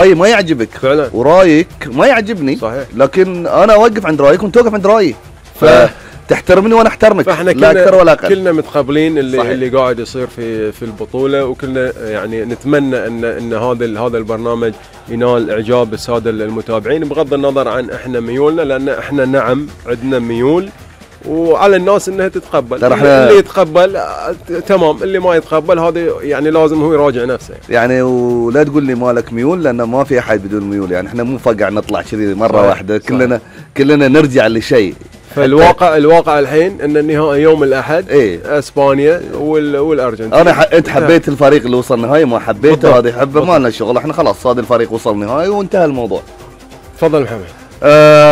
رايي ما يعجبك فعلا، ورايك ما يعجبني، صحيح. لكن انا اوقف عند رايك وانت توقف عند رايي، فتحترمني وانا احترمك، فاحنا لا اكثر ولا اقل. كلنا متقبلين صحيح. اللي قاعد يصير في البطوله، وكلنا يعني نتمنى ان هذا البرنامج ينال اعجاب الساده المتابعين، بغض النظر عن احنا ميولنا، لان احنا نعم عندنا ميول، وعلى الناس انها تتقبل. اللي يتقبل تمام، اللي ما يتقبل هذا يعني لازم هو يراجع نفسه يعني. ولا تقول لي مالك ميول، لان ما في احد بدون ميول، يعني احنا مو فقع نطلع كذي مره صحيح. واحده، صحيح. كلنا نرجع لشيء. فالواقع الحين ان النهائي يوم الاحد، إيه؟ اسبانيا والارجنتين. انت حبيت الفريق اللي وصل نهائي، ما حبيته هذا يحبه، ما لنا شغل، احنا خلاص هذا الفريق وصل نهائي وانتهى الموضوع. تفضل محمد.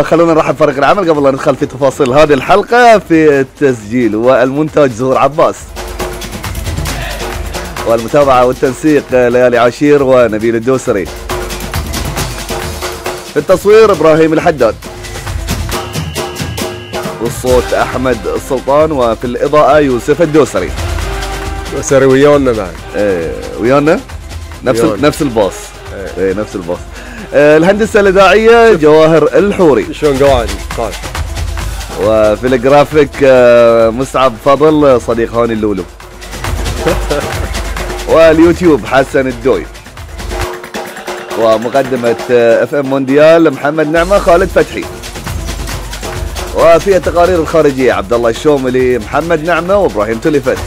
خلونا نرحب بفريق العمل قبل لا ندخل في تفاصيل هذه الحلقه. في التسجيل والمونتاج زهور عباس، والمتابعه والتنسيق ليالي عاشير ونبيل الدوسري، في التصوير ابراهيم الحداد، والصوت احمد السلطان، وفي الاضاءه يوسف الدوسري. دوسري ويانا بعد. ويانا نفس الباص. نفس الباص. الهندسه الاذاعيه جواهر الحوري. شلون قاعد؟ وفي الجرافيك مصعب فضل صديق هاني اللولو. واليوتيوب حسن الدوي. ومقدمه اف ام مونديال محمد نعمه خالد فتحي. وفي التقارير الخارجيه عبد الله الشوملي محمد نعمه وابراهيم تلفت.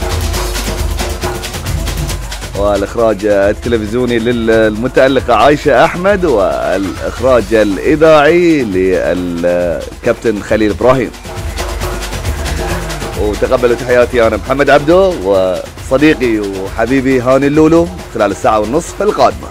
والإخراج التلفزيوني للمتألقة عايشة أحمد، والإخراج الإذاعي للكابتن خليل إبراهيم. وتقبلوا تحياتي أنا محمد عبدو وصديقي وحبيبي هاني اللولو خلال الساعة ونصف القادمة.